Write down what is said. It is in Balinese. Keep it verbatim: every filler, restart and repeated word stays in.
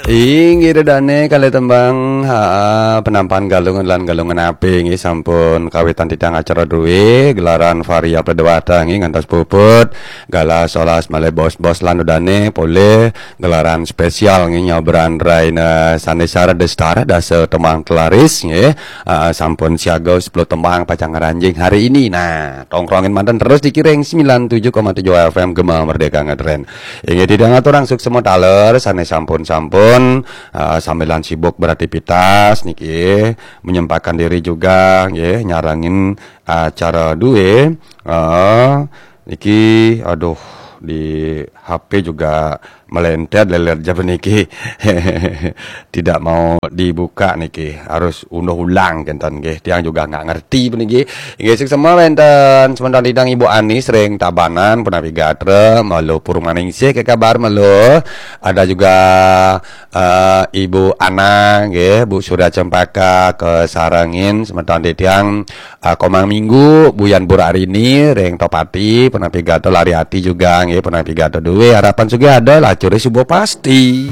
Inggih, ida dané kalih tembang, ha, penampahan Galungan lan Galungan Apik, nggih, sampun kawitan titiang acara dué, gelaran Varia Pledewata, nggih, ngantos puput, galah solas malih bos-bos lan ida dané polih gelaran spesial, nggih, nyabran raina Sanésara Destara dasa tembang telaris, nggih, ha, sampun siaga sepuluh tembang pacang ngranjing hari ini. Nah, tongkrongin manten terus di Kiring sembilan tujuh koma tujuh F M Gema Merdeka Ngetren. Inggih, titiang aturang suksma taler sané sampun-sampun, eh, sambilan sibuk beraktivitas niki, menyempatkan diri juga, nggih, nyarengin acara dué. Eh, niki, aduh, di H P juga melentet lelet jaba niki. Tidak mau dibuka niki, harus unduh ulang kénten nggih. Tiang juga nggak ngerti puniki. Inggih, suksma wénten semeton titiang Ibu Anis ring Tabanan, punapi gatra, Melu Purmaningsih, apa kabar Melu? Ada juga, eh, Ibu Ana nggih, Bu Surya Cempaka, kasarengin semeton titiang, eh, Komang Minggu, Buyan Burarini ring Tohpati, punapi gatra, Lariati juga nggih, punapi gatra dué, Harapan Sugih ada, Lacuré suba pasti.